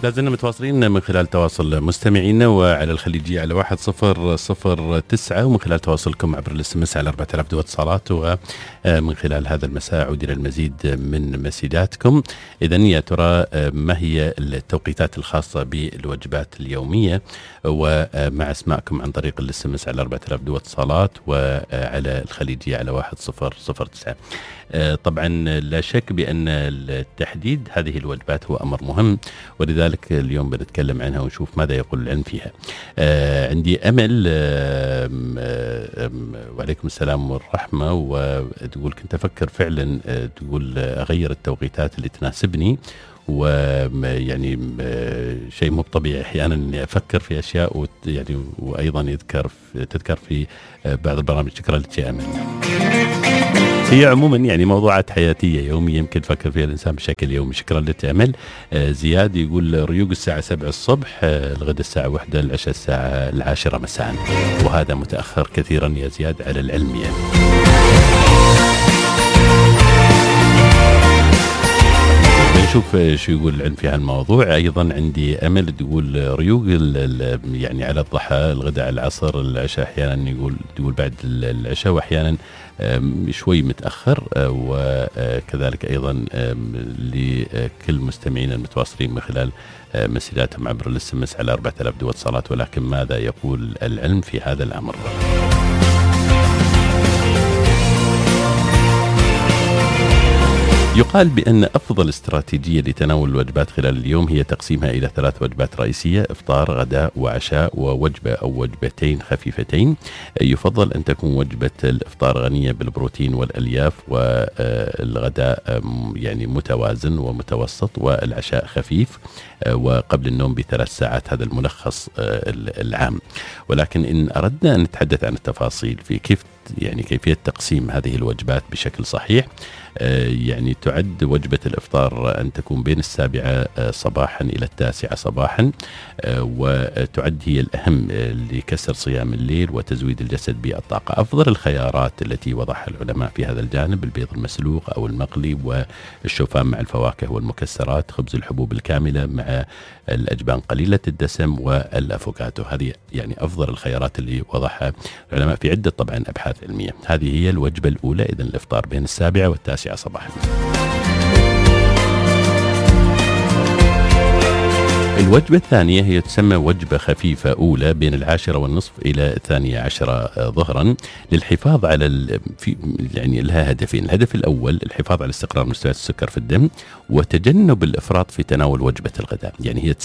لازلنا متواصلين من خلال تواصل مستمعينا وعلى الخليجية على 1009 ومن خلال تواصلكم عبر الاس على 4000 دو اتصالات، ومن خلال هذا المساء عودنا المزيد من مسجاتكم. إذن يا ترى ما هي التوقيتات الخاصة بالوجبات اليومية؟ ومع اسماءكم عن طريق الاس على 4000 دو اتصالات وعلى الخليجية على 1009. طبعا لا شك بأن التحديد هذه الوجبات هو أمر مهم، ولذلك اليوم بنتكلم عنها ونشوف ماذا يقول العلم فيها. عندي أمل وعليكم السلام والرحمة، وتقول كنت أفكر فعلا تقول أغير التوقيتات اللي تناسبني، ويعني شيء مو طبيعي أحيانا إني أفكر في أشياء يعني وأيضا تذكر في بعض البرامج. شكرا لك يا أمل. هي عموما يعني موضوعات حياتية يومية يمكن تفكر فيها الإنسان بشكل يومي. شكرا لك يا أمل. زياد يقول ريوق الساعة 7 الصبح، الغد الساعة 1، العشاء الساعة 10 مساء، وهذا متأخر كثيرا يا زياد على العلم يعني. نشوف شو يقول العلم في هالموضوع. أيضا عندي أمل تقول ريوق يعني على الضحى، الغداء على العصر، العشاء أحيانا تقول بعد العشاء، وأحيانا شوي متأخر. وكذلك أيضا لكل مستمعين المتواصلين من خلال مسجاتهم عبر الاس على 4000 دو اتصالات. ولكن ماذا يقول العلم في هذا الأمر؟ يقال بأن أفضل استراتيجية لتناول الوجبات خلال اليوم هي تقسيمها إلى 3 وجبات رئيسية: إفطار، غداء، وعشاء، ووجبة أو وجبتين خفيفتين. يفضل أن تكون وجبة الإفطار غنية بالبروتين والألياف، والغداء يعني متوازن ومتوسط، والعشاء خفيف وقبل النوم ب3 ساعات. هذا الملخص العام. ولكن إن أردنا أن نتحدث عن التفاصيل في كيفية تقسيم هذه الوجبات بشكل صحيح، يعني تعد وجبة الإفطار أن تكون بين 7 صباحا إلى 9 صباحا، وتعد هي الأهم لكسر صيام الليل وتزويد الجسد بالطاقة. أفضل الخيارات التي وضعها العلماء في هذا الجانب: البيض المسلوق أو المقلي، والشوفان مع الفواكه والمكسرات، خبز الحبوب الكاملة مع الأجبان قليلة الدسم، والأفوكادو. هذه يعني أفضل الخيارات اللي وضعها العلماء في عدة طبعا أبحاث علمية. هذه هي الوجبة الأولى، إذن الإفطار بين 7 و9 صباحا. الوجبة الثانية هي تسمى وجبة خفيفة أولى بين 10:30 إلى 12 ظهرا، للحفاظ على يعني لها هدفين: الهدف الأول الحفاظ على استقرار مستويات السكر في الدم، وتجنب الإفراط في تناول وجبة الغداء. يعني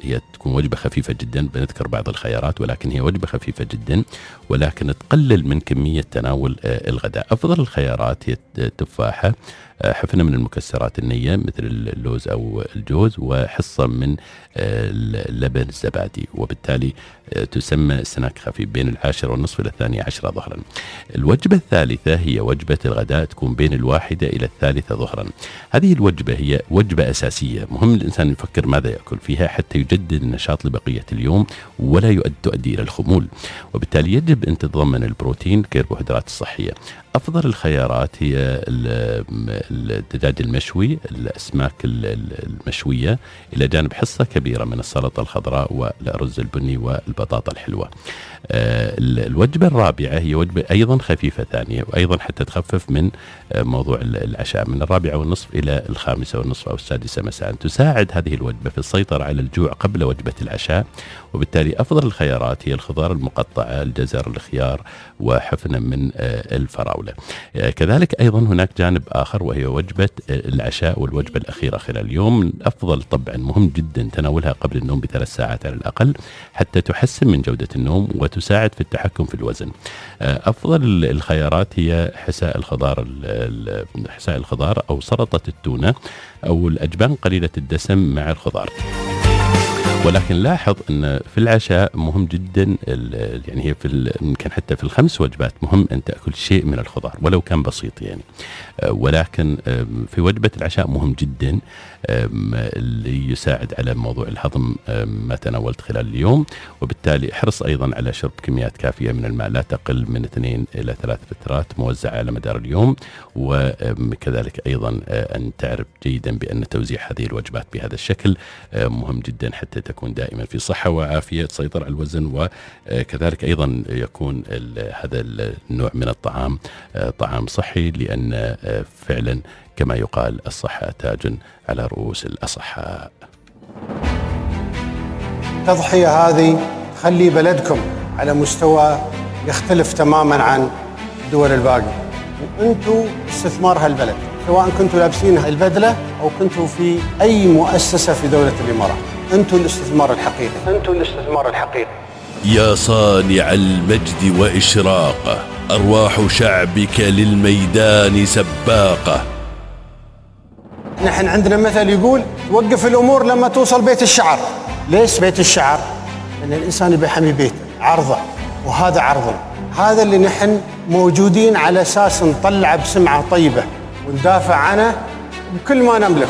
هي تكون وجبة خفيفة جدا، بنذكر بعض الخيارات، ولكن هي وجبة خفيفة جدا، ولكن تقلل من كمية تناول الغداء. أفضل الخيارات هي التفاحة، حفنة من المكسرات النية مثل اللوز أو الجوز، وحصة من اللبن الزبادي، وبالتالي تسمى سناك خفيف بين 10:30 إلى 12 ظهرا. الوجبة الثالثة هي وجبة الغداء، تكون بين 1 إلى 3 ظهرا. هذه الوجبة هي وجبة أساسية، مهم الإنسان يفكر ماذا يأكل فيها حتى يجدد النشاط لبقية اليوم ولا تؤدي إلى الخمول، وبالتالي يجب أن تتضمن البروتين والكربوهيدرات الصحية. أفضل الخيارات هي الدجاج المشوي، الأسماك المشوية، إلى جانب حصة كبيرة من السلطة الخضراء والأرز البني والبطاطا الحلوة. الوجبة الرابعة هي وجبة أيضا خفيفة ثانية، وأيضا حتى تخفف من موضوع العشاء، من 4:30 إلى 5:30 أو 6 مساء. تساعد هذه الوجبة في السيطرة على الجوع قبل وجبة العشاء، وبالتالي أفضل الخيارات هي الخضار المقطعة، الجزر، الخيار، وحفنة من الفراولة. كذلك أيضا هناك جانب آخر وهي وجبة العشاء والوجبة الأخيرة خلال اليوم. أفضل طبعا مهم جدا تناولها قبل النوم ب3 ساعات على الأقل حتى تحسن من جودة النوم وتساعد في التحكم في الوزن. أفضل الخيارات هي حساء الخضار أو سلطة التونة أو الأجبان قليلة الدسم مع الخضار. ولكن لاحظ أن في العشاء مهم جدا، يعني هي يمكن حتى في الخمس وجبات مهم أن تأكل شيء من الخضار ولو كان بسيط يعني. ولكن في وجبة العشاء مهم جدا اللي يساعد على موضوع الهضم ما تناولت خلال اليوم، وبالتالي احرص أيضا على شرب كميات كافية من الماء لا تقل من 2 إلى 3 لترات موزعة على مدار اليوم. وكذلك أيضا أن تعرف جيدا بأن توزيع هذه الوجبات بهذا الشكل مهم جدا حتى تكون دائما في صحة وعافية، تسيطر على الوزن، وكذلك أيضا يكون هذا النوع من الطعام طعام صحي، لأن فعلا كما يقال الصحة تاج على رؤوس الأصحاء. التضحية هذه تخلي بلدكم على مستوى يختلف تماما عن الدول الباقية، وأنتوا استثمار هالبلد، سواء كنتوا لابسين البدلة أو كنتوا في أي مؤسسة في دولة الإمارات. أنتوا الاستثمار الحقيقي، أنتوا الاستثمار الحقيقي. يا صانع المجد وإشراقه، أرواح شعبك للميدان سباقة. نحن عندنا مثل يقول توقف الأمور لما توصل بيت الشعر. ليش بيت الشعر؟ لأن الإنسان يبي يحمي بيته، عرضه، وهذا عرضنا. هذا اللي نحن موجودين على أساس نطلع بسمعة طيبة وندافع عنه بكل ما نملك.